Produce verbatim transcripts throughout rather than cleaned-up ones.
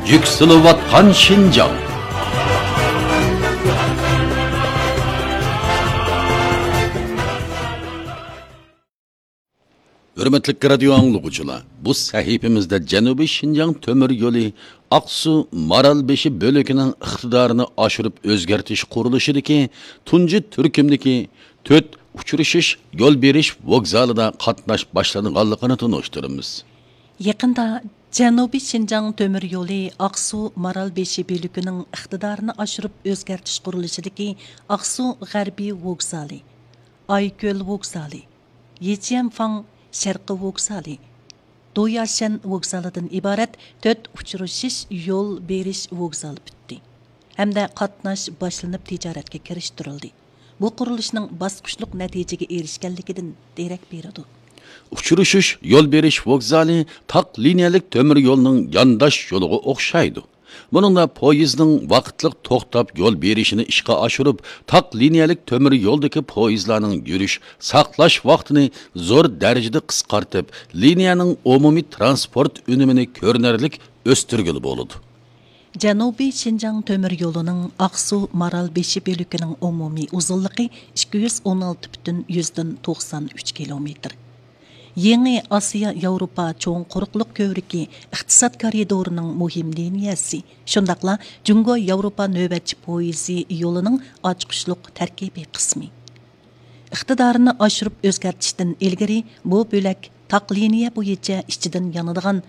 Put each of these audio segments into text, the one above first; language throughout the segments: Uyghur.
يۈكسىلىۋاتقان شىنجاڭ. ھۆرمەتلىك رادىيو ئاڭلىغۇچىلار، بۇ سەھىپىمىزدە جەنۇبىي شىنجاڭ تۆمۈر يولى ئاقسۇ مارالبېشى بۆلىكىنىڭ ئىقتىدارىنى ئاشۇرۇپ ئۆزگەرتىش قۇرۇلۇشىدىكى تۇنجى تۈركۈمدىكى تۆت ئۇچرىشىش يول بېرىش ۋوگزالىدا قاتناش باشلانغانلىقىنى تونۇشتۇرىمىز. يېقىندا جەنۇبىي شىنجاڭ تۆمۈر يولى ئاقسۇ مارالبېشى بۆلىكىنىڭ ئىقتىدارىنى ئاشۇرۇپ ئۆزگەرتىش قۇرۇلۇشىدىكى ئاقسۇ غەربىي ۋوگزالى، ئايكۆل ۋوگزالى، يىچيەنفاڭ شەرقىي ۋوگزالى، دوياشەن ۋوگزالىدىن ئىبارەت تۆت ئۇچرىشىش يول بېرىش ۋوگزالى پۈتتى ھەمدە قاتناش باشلىنىپ تىجارەتكە كىرىشتۈرۈلدى. بۇ قۇرۇلۇشنىڭ باسقۇچلۇق نەتىجىگە ئېرىشكەنلىكىدىن دېرەك بېرىدۇ. ئۇچرىشىش يول بېرىش ۋوگزالى تاق لىنىيەلىك تۆمۈر يولنىڭ يانداش يولىغا ئوخشايدۇ. بۇنىڭدا پويىزنىڭ ۋاقىتلىق توختاپ يول بېرىشىنى ئىشقا ئاشۇرۇپ، تاق لىنىيەلىك تۆمۈر يولدىكى پويىزلارنىڭ يۈرۈش، ساقلاش ۋاقتىنى زور دەرىجىدە قىسقارتىپ، لىنىيەنىڭ ئومۇمىي تىرانسپورت ئۈنۈمىنى كۆرۈنەرلىك ئۆستۈرگىلى بولىدۇ. جەنۇبىي شىنجاڭ تۆمۈر يولىنىڭ ئاقسۇ مارالبېشى بۆلىكىنىڭ ئومۇمىي ئۇزۇنلۇقى ئىككى يۈز ئون ئالتە پۈتۈن يۈزدىن توقسان ئۈچ كىلومېتىر. يېڭى ئاسىيا ياۋروپا چوڭ قۇرۇقلۇق كۆۋرۈكى ئىقتىساد كارىدورىنىڭ مۇھىم لىنىيەسى، شۇنداقلا جۇڭگو ياۋروپا نۆۋەتچى پويىزى يولىنىڭ ئاچقۇچلۇق تەركىبىي قىسمى. ئىقتىدارىنى ئاشۇرۇپ ئۆزگەرتىشتىن ئىلگىرى بۇ بۆلەك تاق لىنىيە بويىچە ئىچىدىن يانىدىغان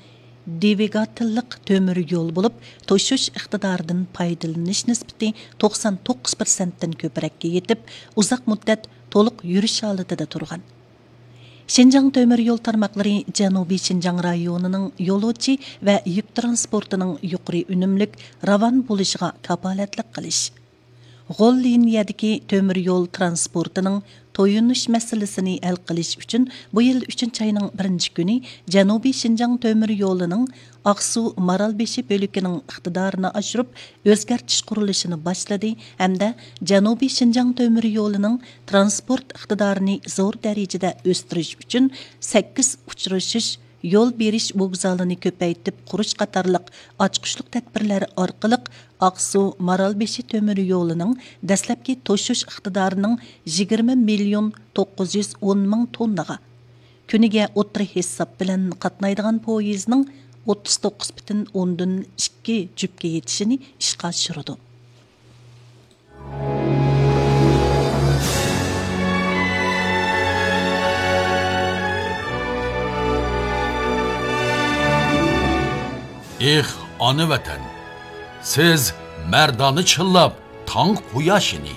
دۋىگاتېللىق تۆمۈر يول بولۇپ، توشۇش ئىقتىدارىدىن پايدىلىنىش نىسبىتى توقسان توققۇز پىرسەنتتىن كۆپرەككە يېتىپ، ئۇزاق مۇددەت تولۇق يۈرۈش ھالىتىدە تۇرغان. شىنجاڭ تۆمۈر يول تارماقلىرى جەنۇبىي شىنجاڭ رايونىنىڭ يولۇچى ۋە يۈك تىرانسپورتىنىڭ يۇقىرى ئۈنۈملۈك راۋان بولۇشىغا كاپالەتلىك قىلىش، غول لىنىيەدىكى تۆمۈر يول تىرانسپورتىنىڭ تويۇنۇش مەسىلىسىنى ھەل قىلىش ئۈچۈن بۇ يىل ئۈچىنچى ئاينىڭ بىرىنچى كۈنى جەنۇبىي شىنجاڭ تۆمۈر يولىنىڭ ئاقسۇ مارالبېشى بۆلىكىنىڭ ئىقتىدارىنى ئاشۇرۇپ ئۆزگەرتىش قۇرۇلۇشىنى باشلىدى ھەمدە جەنۇبىي شىنجاڭ تۆمۈر يولىنىڭ تىرانسپورت ئىقتىدارىنى زور دەرىجىدە ئۆستۈرۈش ئۈچۈن سەككىز ئۇچرىشىش يول بېرىش ۋوگزالىنى كۆپەيتىپ قۇرۇش قاتارلىق ئاچقۇچلۇق تەدبىرلەر ئارقىلىق ئاقسۇ مارالبېشى تۆمۈر يولىنىڭ دەسلەپكى توشۇش ئىقتىدارىنىڭ يىگىرمە مىليون توققۇز يۈز ئون مىڭ توننىغا، كۈنىگە ئوتتۇرا ھېساب بىلەن قاتنايدىغان پويىزنىڭ ئوتتۇز توققۇز پۈتۈن ئوندىن ئىككى جۈپكە يېتىشىنى ئىشقا ئاشۇرىدۇ. ئېھ، ئانا ۋەتەن! سىز مەردانە چىللاپ تاڭ قۇياشىنى،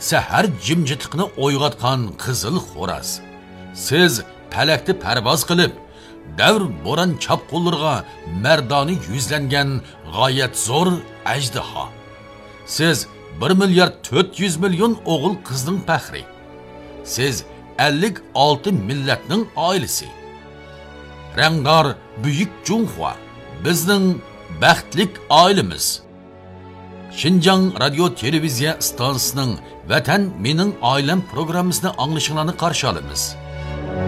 سەھەر جىمجىتلىقىنى ئويغاتقان قىزىل خوراز. سىز پەلەكتە پەرۋاز قىلىپ، دەۋر بوران چاپقۇنلىرىغا مەردانە يۈزلەنگەن غايەت زور ئەجدىھا. سىز بىر مىليارد تۆت يۈز مىليون ئوغۇل قىزنىڭ پەخرى. سىز ئەللىك ئالتە مىللەتنىڭ ئائىلىسى. رەڭدار بۈيۈك جۇڭخۇا، بىزنىڭ بەختلىك ئائىلىمىز. شىنجاڭ رادىيو تېلېۋىزىيە ئىستانسىسىنىڭ ۋەتەن مېنىڭ ئائىلەم پروگراممىسىنى ئاڭلىشىڭلارنى قارشى ئالىمىز.